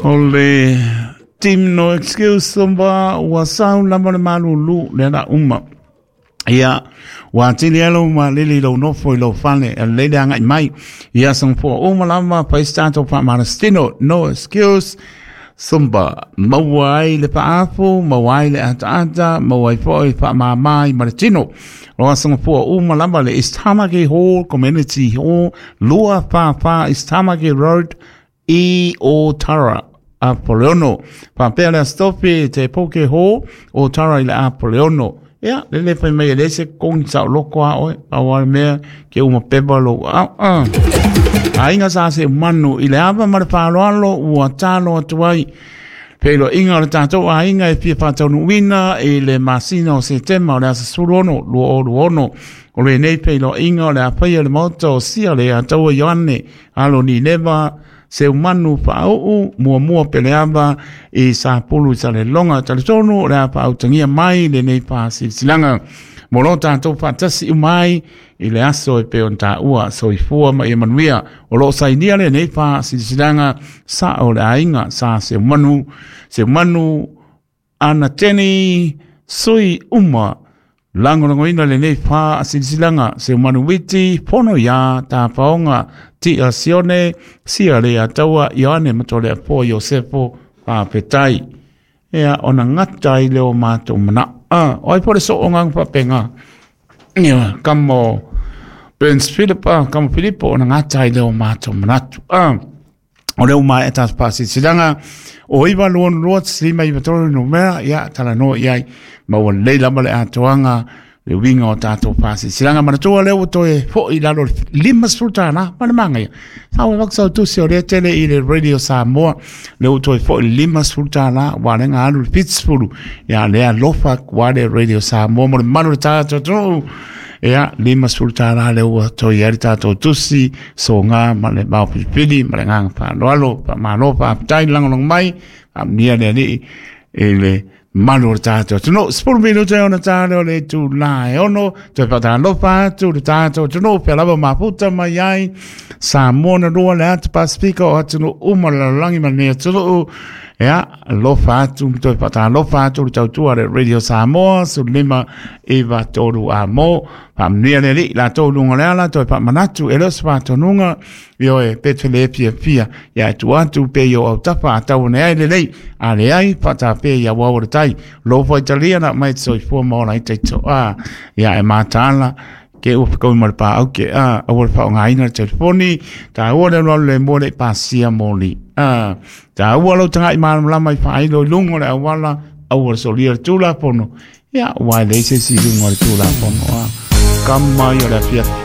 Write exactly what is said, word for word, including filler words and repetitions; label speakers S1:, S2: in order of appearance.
S1: O le team No Excuse Zumba ua sau lava le malulu le ala uma. Ia, ua tili alo ma lili lau nofo i lau fale, a lele anga i mai. Ia sangfua uma lava paestato pa malastino No Excuse Zumba. Maua ai le paafu, maua ai le ataata, maua ai foi pa mamai malatino. Loa sangfua uma lava le East Tamaki Hall Community Hall, Lua Fa Fa East Tamaki Road, i Otara Apoleono. Papea le astofi te poke ho o tara i le Apoleono. Ia, lele fai mai le se kongi sa loko a oe, a wale mea ke uma pepa lo a a. Ainga sa se manu i le ava ma le whaaloalo ua talo atu ai. Pelo inga o le tātou a inga e fia whātaunuina i le masina o Setema o le asa sulu ono, lua o lua ono. O le nei pelo inga o le apai o le maota o sia le ataua Ioane, alo ni neva, se umanu whaau, mua mua peleava i sa pulu i sa le longa talitonu o le apa autangia mai le nei whasilsilanga. Mo lo tātou whaatasi umai i le aso e pe on tā ua soifua ma ia manuia. O lo sainia le nei whasilsilanga sa o le ainga sa se umanu, se umanu anateni sui uma. Langolangoina le nei whasilsilanga se umanu witi pono ia tā paonga ti a sione sia le ataua Ioane matole a po Iosefo whaapetai. Ea ona ngata i leo mātou mana. Ah, oi pore so ongang papenga. Ia, kamo Burns Philip, ah, kamo Filipo ona ngata i leo mātou manatu. Ah, o leo mai e tas pasi silanga o iwa luon luat slima i matoro no mera ia tala no iai maua leila ma le atoanga le winga o tātou pasi silanga manatua leo toe fo i lalo lima sultana ma le manga ia sa o vaksa tu se o le tele i le Radio Samoa leo toe fo i lima sultana wa le ngā alu Pittsburgh ia le alofa kwa le Radio Samoa mo le manu le tātou tō ia lima sultana le ua toi ari tātou tusi so ngā ma le mau pilipili ma le ngā whaaloalo pa malo pa apatai langolong mai pa mnia le ali e le malu o le tātou tunu sepuluh minuta e ona tāle o le tu la e ono toe patalofa atu le tātou tunu pea lava maputa mai ai Samoa na lua le atu Pasifika o atunu uma le lalolagi ma lenei atunuu. Ia, alofa atu, toe faatalofa atu le tautua le Radio Samoa, sulu lima iva tolu a mo, faamanuia le Alii latou luga o le ala, toe faamanatu e le o se faatonuga, ioe, pe te le fiafia, ia e tuu atu pe i o autafa a tau ane ai lelei, a leai, faatapea i auau o le tai, lofa italia na mai te soifua ma ola ai taitoa, ia e mataala, ke ua whakau ma le pā au ke a aua le whaongaina le telefoni tā ua le alu le mua le pasia moli a tā ua lau tangai malamalama i whailo i lunga o le awala aua le solia le tūlafono ia wai le se si lunga o le tūlafono a kama i o le afia